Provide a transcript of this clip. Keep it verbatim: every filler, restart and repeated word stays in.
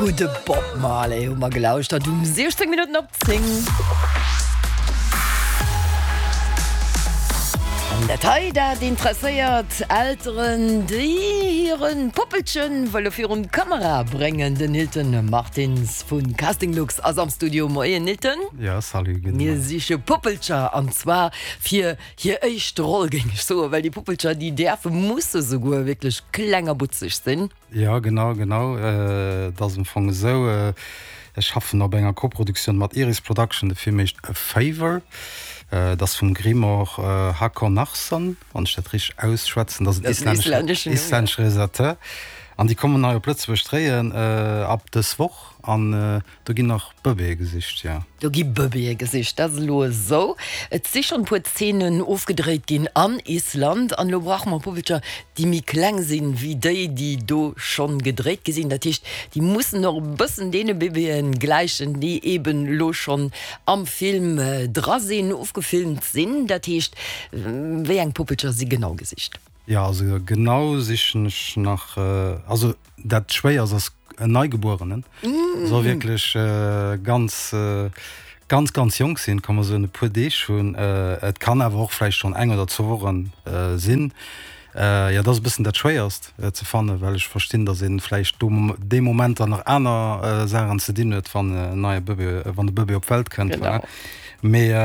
Gudde Bob Marley hu mer gelauschtert um siechzéng Minutten op zéng. An dat hei, dat interesséiert Elteren, déi hire Puppelchen wëlle virun d'Kamera bréngen. Den Nilton Martins vu Casting Lux ass am Studio. Moien Nilton. Ja, salut, gudde Mir Moien. siche Puppelcher an zwar fir hir éischt Roll, géing ech soen, well déi Puppelcher, déi däerfe, musse souguer wierklech kleng a butzeg sinn. Ja, genau, genau. Et ass am Fong esou, ech schaffen op enger Koproduktioun mat Iris Production, de Film heescht A Favor. Et ass vum Grímur Hákonarson, wann ech dat richteg ausschwätzen, dat ass en islännesche islännesche Realisateur. An déi kommen hei op Lëtzebuerg dréien ab dës Woch an do ginn nach Bëbeeë gesicht, jo. Do gi Bëbeeë gesicht, dat ass elo esou. Et si schonn e puer Zeenen ofgedréit ginn an Island an elo brauche mer Puppelcher, déi méi kleng sinn, wéi déi, déi do schonn gedréit gi sinn. Dat heescht, déi mussen och e bëssen deene Bëbeeë gläichen, déi eeben elo schonn am Film dra sinn, ofgefilmt sinn. Dat heescht, wéi eng Puppelcher si genau gesicht? Jo, also genau sichen ech nach, also dat Schwéierst ass en Neigebuerenen, soll wierklech ganz, ganz, ganz jonk sinn, kann mer soen e puer Deeg hunn. Et kann awer och vläicht schonn eng oder zwou Wochen sinn. Jo, dat ass e bëssen dat Schwéierst ze fannen, well ech verstinn, datt ee vläicht do dee Moment dann nach aner Saachen ze dinn huet, wann en neie Bëbee, wann de Bëbee op d'Welt kënnt. Mee.